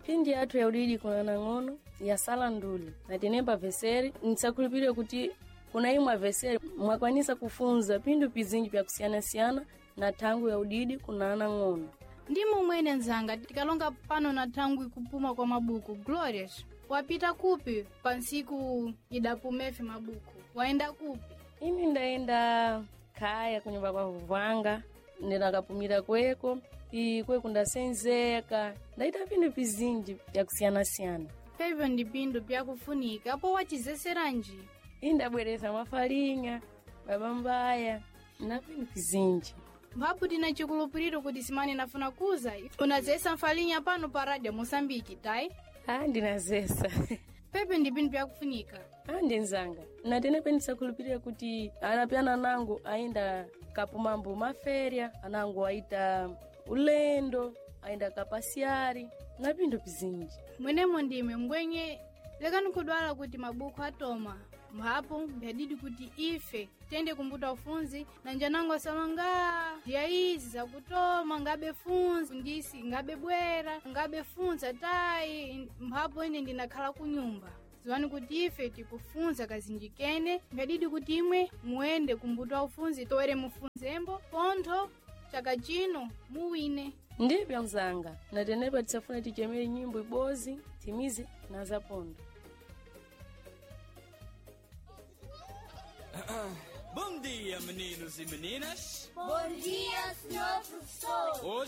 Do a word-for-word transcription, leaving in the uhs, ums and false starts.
Pindi yathu ya udidi kuna nang'ono yasala nduli natenemba veseri nsakhulupirire kuti kuna imwe aveseri mwakwanisa kufunza pindu pizinji pya kusiyanasiyana na thangu ya udidi kuna anang'ono. Ndi mumwene nzanga tikalonga pano na thangwi kupuma kwa mabuku. Glorious, wapita kupi pa ntsiku idapumefe mabuku? Waenda kupi? Ini ndaenda khaya kunyumba kwa vuvanga ndinakapumira kweko i kweko ndasenzeka ndaita pindu pizinji pya kusiyanasiyana. Pevyo ndi pindu pyakufunika apo wachizeseranji? Ini ndabwereza mafalinya babambaya na pindu pizinji. Mphapu tina chikulupiriro kuti simani nafuna kuza unazesa mfalinya pano pa radio Moçambique, tayi? Ah, ndinazesa. Pepe ndi pindu pyakufunika. Ah, ndinzanga natenepe ndisakhulupirira kuti anapyana anango ayenda kapumambo maferya anango aita ulendo ayenda kapasiyari na pindu pizinji. Mwenemo ndime mbwenye lekani kudwala kuti mabuku atoma mphapo mbyadidi kuti ife tiyende kumbuta ufunzi na njanango asalonga ndiya izi zakutoma ngabe funzi ndisi ngabe bwera ngabe funza tayi mphapo ine ndinakhala kunyumba. Ziwani kuti ife tikufunza kazinji kene mbyadidi kuti imwe muende kumbuta ufunzi toere mufunzembo pontho chaka chino muwine. Ndipya mzanga natenepa tisafuna tichemere nyimbo ibozi timize na zapondo. Bom dia, meninos e meninas. Bom dia, senhor professor. Hoje